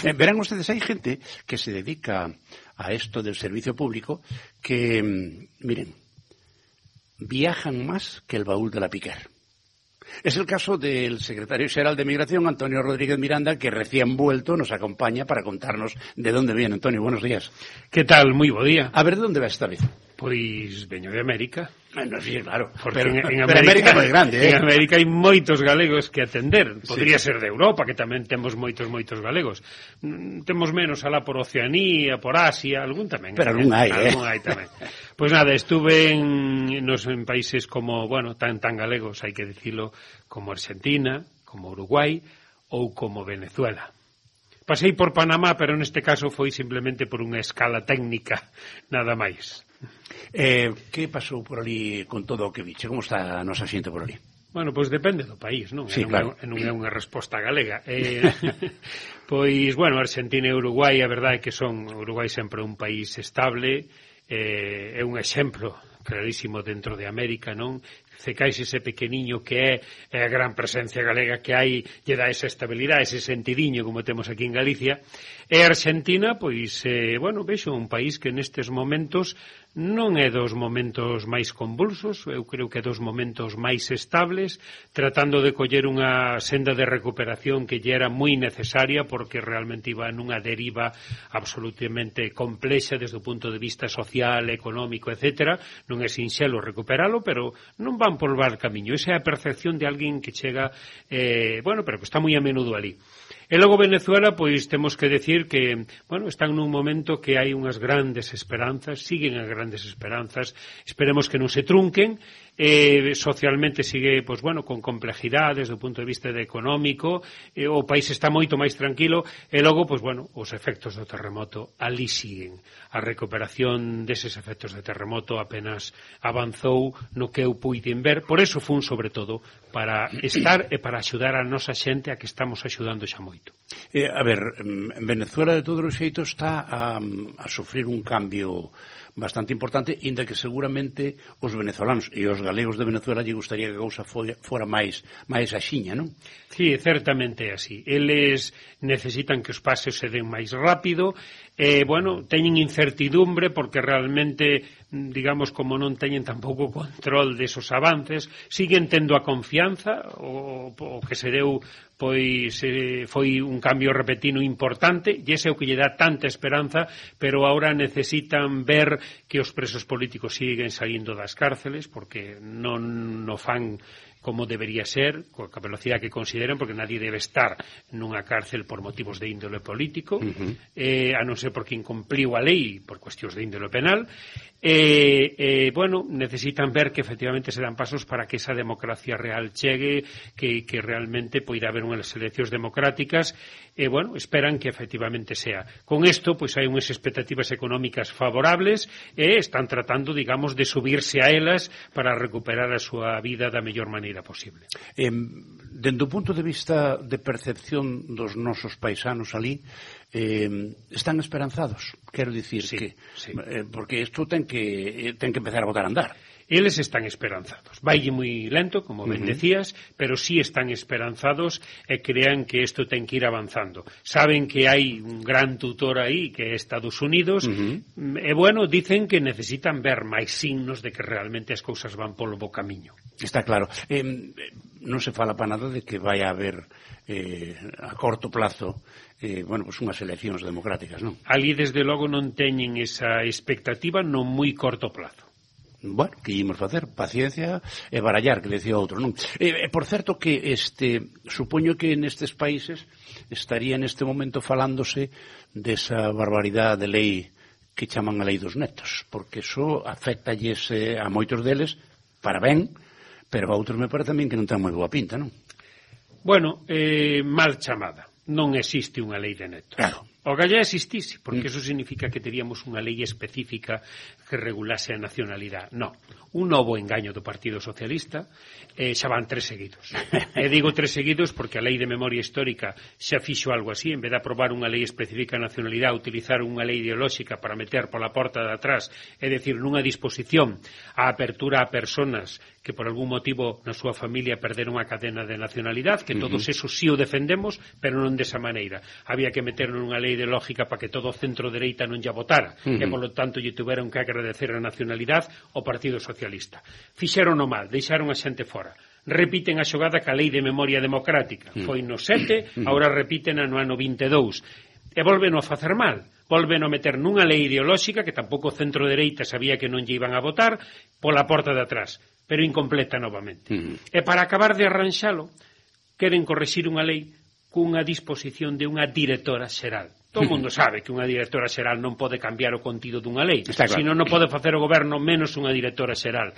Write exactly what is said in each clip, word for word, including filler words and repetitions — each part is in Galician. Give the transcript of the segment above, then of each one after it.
Eh, verán ustedes, hai gente que se dedica a esto del servicio público que, miren, viajan más que el baúl de la Piquer. Es el caso del secretario xeral de Migración, Antonio Rodríguez Miranda, que recién vuelto nos acompaña para contarnos de dónde viene. Antonio, buenos días. Que tal? Moi bo día. A ver, de onde vas esta vez? Pois veño de América. Bueno, sí, claro. Porque pero, en, en pero América, América é moi grande, eh? En América hai moitos galegos que atender. Podría sí. ser de Europa, que tamén temos moitos, moitos galegos. Mm, temos menos alá por Oceanía, por Asia, algún tamén. Pero algún hai, eh? Algún hai tamén. Pois nada, estuve en, nos, en países como, bueno, tan tan galegos, hai que dicilo, como Argentina, como Uruguai ou como Venezuela. Pasei por Panamá, pero neste caso foi simplemente por unha escala técnica, nada máis. Eh, que pasou por ali con todo o que viche? Como está a nosa xente por ali? Bueno, pois depende do país, non? Sí, non, claro. é, non é unha resposta galega. Eh, pois, bueno, Argentina e Uruguai, a verdade é que son Uruguai sempre un país estable, eh, é un exemplo clarísimo dentro de América, non? Cecais ese pequeniño que é, é a gran presencia galega que hai, lle dá esa estabilidade, ese sentidiño como temos aquí en Galicia. E Argentina, pois, eh, bueno, vexo un país que nestes momentos non é dos momentos máis convulsos, eu creo que é dos momentos máis estables, tratando de coller unha senda de recuperación que lle era moi necesaria porque realmente iba nunha deriva absolutamente complexa desde o punto de vista social, económico, etcétera. Non é sinxelo recuperalo, pero non van por val camiño. Esa é a percepción de alguén que chega, eh, bueno, pero que está moi a menudo ali. E logo Venezuela, pois temos que decir que, bueno, están nun momento que hai unhas grandes esperanzas, siguen as grandes esperanzas, esperemos que non se trunquen, eh, socialmente sigue, pois bueno, con complejidades do punto de vista de económico, eh, o país está moito máis tranquilo, e logo, pois bueno, os efectos do terremoto ali siguen. A recuperación deses efectos de terremoto apenas avanzou no que eu puiden ver, por eso fun sobre todo para estar e para axudar a nosa xente a que estamos axudando xa moito. Eh, a ver, en Venezuela de todos os xeitos está a, a sufrir un cambio bastante importante, inda que seguramente os venezolanos e os galegos de Venezuela lle gustaría que a cousa fora máis máis axiña, non? Sí, certamente é así. Eles necesitan que os pases se den máis rápido, e, bueno, teñen incertidumbre porque realmente, digamos, como non teñen tampouco control desos avances, siguen tendo a confianza, o, o que se deu, pois eh, foi un cambio repentino importante, e ese é o que lle dá tanta esperanza, pero agora necesitan ver que os presos políticos siguen saindo das cárceles, porque non o fan como debería ser, coa velocidade que consideran, porque nadie debe estar nunha cárcel por motivos de índole político, uh-huh. eh, a non ser porque incumpliu a lei por cuestións de índole penal, e, eh, bueno, necesitan ver que efectivamente se dan pasos para que esa democracia real chegue, que, que realmente poida haber unhas eleccións democráticas, e, bueno, esperan que efectivamente sea. Con isto, pois hai unhas expectativas económicas favorables, e están tratando, digamos, de subirse a elas para recuperar a súa vida da mellor maneira posible. Eh, dende o punto de vista de percepción dos nosos paisanos ali, eh, están esperanzados, quero dicir sí, que sí. Eh, porque isto ten que ten que empezar a botar a andar. Eles están esperanzados. Vaille moi lento, como ben uh-huh. decías, pero sí están esperanzados e crean que isto ten que ir avanzando. Saben que hai un gran tutor aí, que é Estados Unidos, uh-huh. e, bueno, dicen que necesitan ver máis signos de que realmente as cousas van polo bo camiño. Está claro. Eh, non se fala para nada de que vai a haber eh, a corto plazo eh, bueno, pues unhas eleccións democráticas, non? Ali, desde logo, non teñen esa expectativa no moi corto plazo. Bueno, que ímos facer? Paciencia e barallar, que decía outro, non? E, por certo que este, supoño que nestes países estaría neste momento falándose desa barbaridade de lei que chaman a lei dos netos, porque iso afectalles eh, a moitos deles para ben, pero a outros me parece tamén que non ten moi boa pinta, non? Bueno, eh, mal chamada. Non existe unha lei de netos. Claro. O galla existise, porque eso significa que teríamos unha lei específica que regulase a nacionalidade. Non, un novo engaño do Partido Socialista, eh, xa van tres seguidos. E digo tres seguidos porque a lei de memoria histórica xa fixo algo así, en vez de aprobar unha lei específica de nacionalidade, utilizar unha lei ideolóxica para meter pola porta de atrás, é dicir, nunha disposición a apertura a personas que por algún motivo na súa familia perderon a cadena de nacionalidade, que todos uh -huh. esos sí o defendemos, pero non desa maneira. Había que meter nunha lei ideolóxica para que todo o centro-dereita non lla votara, uh -huh. e polo tanto lle tuveron que agradecer a nacionalidade ao Partido Socialista. Fixeron o mal, deixaron a xente fora. Repiten a xogada ca lei de memoria democrática. Uh -huh. Foi no sete, uh -huh. agora repiten no ano vinte e dous. E volven a facer mal. Volven a meter nunha lei ideolóxica que tampouco o centro-dereita sabía que non lle iban a votar pola porta de atrás, pero incompleta novamente. Uh -huh. E para acabar de arranxalo, queren correxir unha lei cunha disposición de unha directora xeral. Todo o mundo sabe que unha directora xeral non pode cambiar o contido dunha lei, claro. Senón non pode facer o goberno menos unha directora xeral.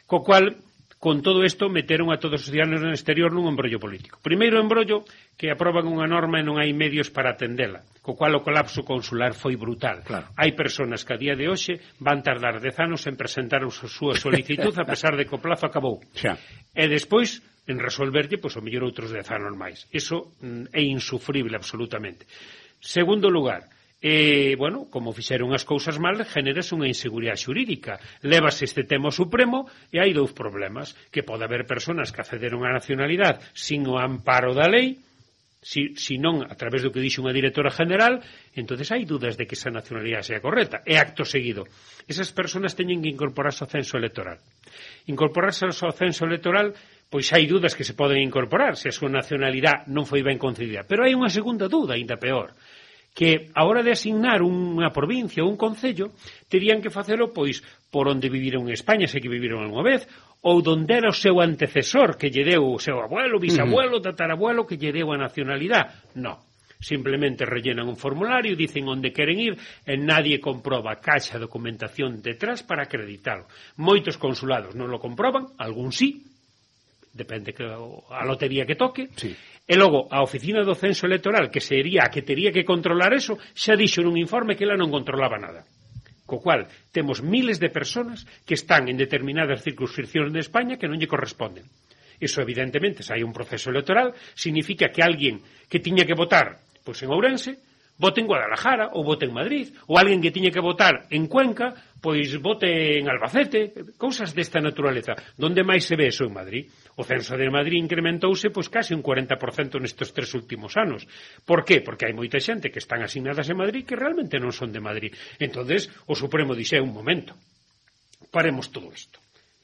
Co cual, con todo isto, meteron a todos os ciudadanos no exterior nun embrollo político. Primeiro embrollo, que aproban unha norma e non hai medios para atendela, co cual o colapso consular foi brutal. Claro. Hai persoas que a día de hoxe van tardar dez anos en presentar a súa solicitud a pesar de que o plazo acabou. Xa. E despois en resolverlle, pois, o mellor outros dez anos máis. Iso mm, é insufrible absolutamente. Segundo lugar, eh, bueno, como fixeron as cousas mal, generase unha inseguridade xurídica. Levase este tema ao Supremo e hai dous problemas, que pode haber persoas que accederon á nacionalidade sin o amparo da lei, si, si non a través do que dixo unha directora general, entonces hai dudas de que esa nacionalidade sea correcta. E acto seguido, esas persoas teñen que incorporarse ao censo electoral. Incorporarse ao censo electoral, pois hai dudas que se poden incorporar se a súa nacionalidade non foi ben concedida. Pero hai unha segunda duda, ainda peor, que a hora de asignar unha provincia ou un concello terían que facelo pois por onde viviron en España, se que viviron algunha vez, ou donde era o seu antecesor que lle deu o seu abuelo, bisabuelo, tatarabuelo que lle deu a nacionalidade. Non. Simplemente rellenan un formulario, dicen onde queren ir e nadie comproba caixa documentación detrás para acreditalo. Moitos consulados non lo comproban, algún sí, depende que a lotería que toque, sí. E logo a oficina do censo electoral, que sería a que tería que controlar eso, xa dixo nun informe que ela non controlaba nada. Co cual, temos miles de personas que están en determinadas circunscripcións de España que non lle corresponden. Iso, evidentemente, se hai un proceso electoral, significa que alguén que tiña que votar pois en Ourense, vote en Guadalajara ou vote en Madrid, ou alguén que tiña que votar en Cuenca, pois vote en Albacete, cousas desta naturaleza. Donde máis se ve eso en Madrid? O censo de Madrid incrementouse pois case un cuarenta por cento nestes tres últimos anos. Por qué? Porque hai moita xente que están asignadas en Madrid que realmente non son de Madrid. Entonces, o Supremo dixe, un momento, paremos todo isto.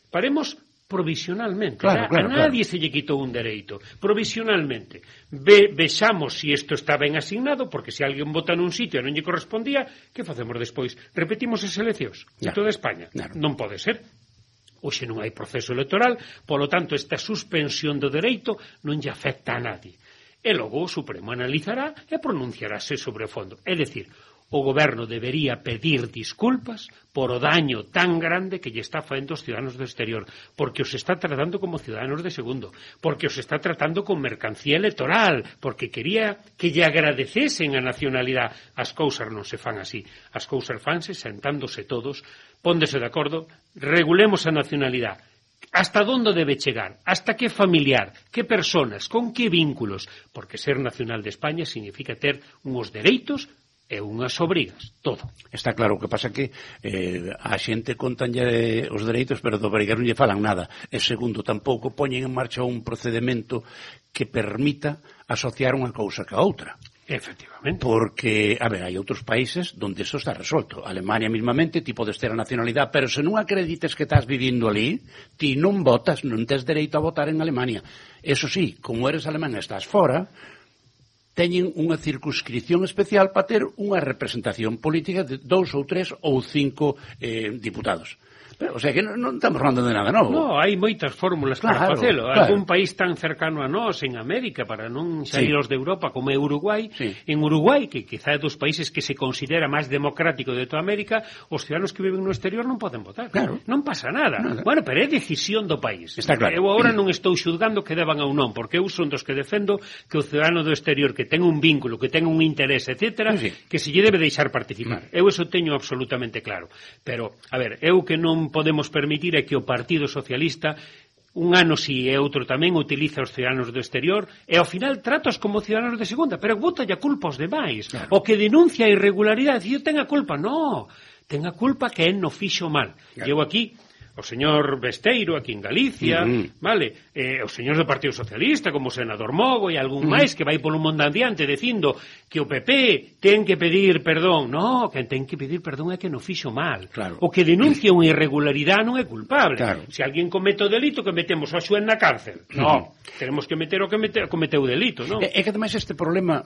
Paremos provisionalmente. Claro, claro, a nadie claro. Se lle quitou un dereito. Provisionalmente. Ve, vexamos se si isto está ben asignado, porque se alguén vota nun sitio e non lle correspondía, que facemos despois? Repetimos as eleccións de toda España? Claro. Non pode ser. Hoxe non hai proceso electoral, polo tanto, esta suspensión do dereito non lle afecta a nadie. E logo o Supremo analizará e pronunciarase sobre o fondo. É dicir, o goberno debería pedir disculpas por o daño tan grande que lle está facendo aos ciudadanos do exterior, porque os está tratando como ciudadanos de segundo, porque os está tratando con mercancía electoral, porque quería que lle agradecesen a nacionalidade. As cousas non se fan así, as cousas fanse sentándose todos, póndese de acordo, regulemos a nacionalidade. Hasta onde debe chegar, hasta que familiar, que personas, con que vínculos, porque ser nacional de España significa ter uns dereitos e unhas obrigas, todo. Está claro, o que pasa que eh, a xente contanlle os dereitos, pero do obrigar non lle falan nada. E segundo, tampouco poñen en marcha un procedimento que permita asociar unha cousa ca outra. Efectivamente. Porque, a ver, hai outros países onde eso está resolto. Alemania mismamente, ti podes ter a nacionalidade, pero se non acredites que estás vivindo ali, ti non votas, non tes dereito a votar en Alemania. Eso sí, como eres alemán e estás fora, teñen unha circunscripción especial para ter unha representación política de dous ou tres ou cinco eh, diputados. Pero, o sea, que non, non estamos falando de nada novo. No, hai moitas fórmulas claro, para facelo. Claro. Algún país tan cercano a nós, en América, para non sair os sí. de Europa, como é Uruguai, sí. en Uruguai, que quizá é dos países que se considera máis democrático de toda América, os ciudadanos que viven no exterior non poden votar. Claro. Non pasa nada. nada. Bueno, pero é decisión do país. Está claro. Eu agora non estou xudgando que deban ou non, porque eu son dos que defendo que o ciudadano do exterior que ten un vínculo, que ten un interés, etcétera, sí, sí. que se lle debe deixar participar. Mm. Eu eso teño absolutamente claro. Pero, a ver, eu que non podemos permitir é que o Partido Socialista un ano si e outro tamén utiliza os ciudadanos do exterior e ao final tratos como ciudadanos de segunda, pero bota a culpa aos demais. Claro. O que denuncia a irregularidade, e ten a culpa, no, ten a culpa que é no fixo mal. Claro. Eu aquí o señor Besteiro aquí en Galicia, uh-huh. vale, eh, os señores do Partido Socialista, como o senador Mogo e algún uh-huh. máis que vai polo mundo adiante dicindo que o P P ten que pedir perdón. No, que ten que pedir perdón é que non fixo mal. Claro. O que denuncia unha irregularidade non é culpable. Claro. Se alguén comete o delito, que metemos a xuez na cárcel. No, uh-huh. tenemos que meter o que mete, cometeu o delito, non? É, é que ademais este problema,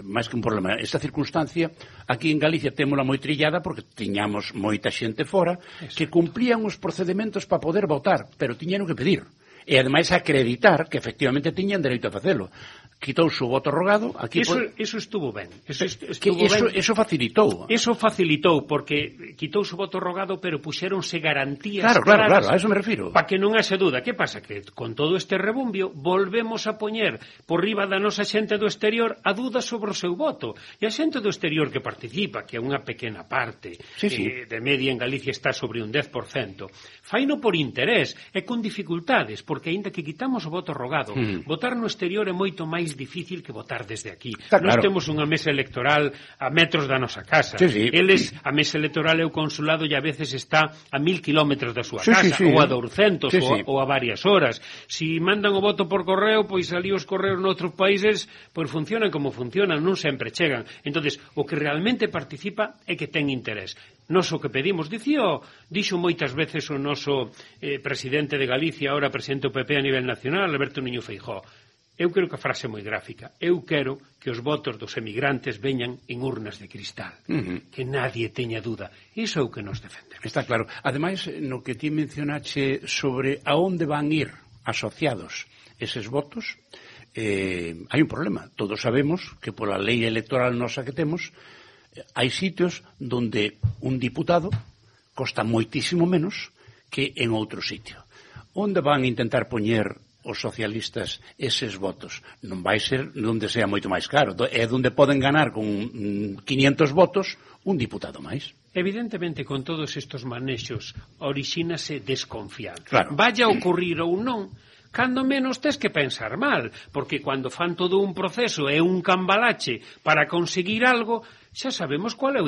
máis que un problema, esta circunstancia aquí en Galicia témola moi trillada porque tiñamos moita xente fora Eso. que cumplían os procedementos para poder votar, pero tiñan que pedir e ademais acreditar que efectivamente tiñan dereito a facelo. Quitouse o voto rogado aquí eso, por... eso estuvo ben eso, estuvo que eso, ben. eso facilitou eso facilitou porque quitouse o voto rogado pero puxéronse garantías claro, claro, claro, a eso me refiro para que non haxe duda. Que pasa? Que con todo este rebumbio volvemos a poñer por riba da nosa xente do exterior a duda sobre o seu voto e a xente do exterior que participa, que é unha pequena parte sí, sí. Eh, de media en Galicia está sobre un dez por cento, faino por interés e con dificultades, porque aínda que quitamos o voto rogado mm. votar no exterior é moito máis difícil que votar desde aquí. Está Nós claro. temos unha mesa electoral a metros da nosa casa. Sí, sí. Eles, a mesa electoral é o consulado e a veces está a mil kilómetros da súa sí, casa, sí, sí. ou a douscentos, sí, ou, sí. ou a varias horas. Si mandan o voto por correo, pois ali os correos noutros países pois funcionan como funcionan, non sempre chegan. Entonces, o que realmente participa é que ten interés. Nos o que pedimos, dicío, dixo moitas veces o noso eh, presidente de Galicia, ahora presidente do P P a nivel nacional, Alberto Núñez Feijóo. Eu creo que a frase é moi gráfica. Eu quero que os votos dos emigrantes veñan en urnas de cristal. Uh-huh. Que nadie teña dúda. Iso é o que nos defendemos. Está claro. Ademais, no que ti mencionache sobre a onde van ir asociados eses votos, eh, hai un problema. Todos sabemos que pola lei electoral nosa que temos, hai sitios donde un diputado costa moitísimo menos que en outro sitio. Onde van intentar poñer os socialistas eses votos? Non vai ser onde sea moito máis caro, é onde poden ganar con quinientos votos un diputado máis. Evidentemente, con todos estes manexos orixínase desconfianza. Claro. Vaya a ocurrir ou non, cando menos tes que pensar mal, porque cando fan todo un proceso e un cambalache para conseguir algo, xa sabemos cual é o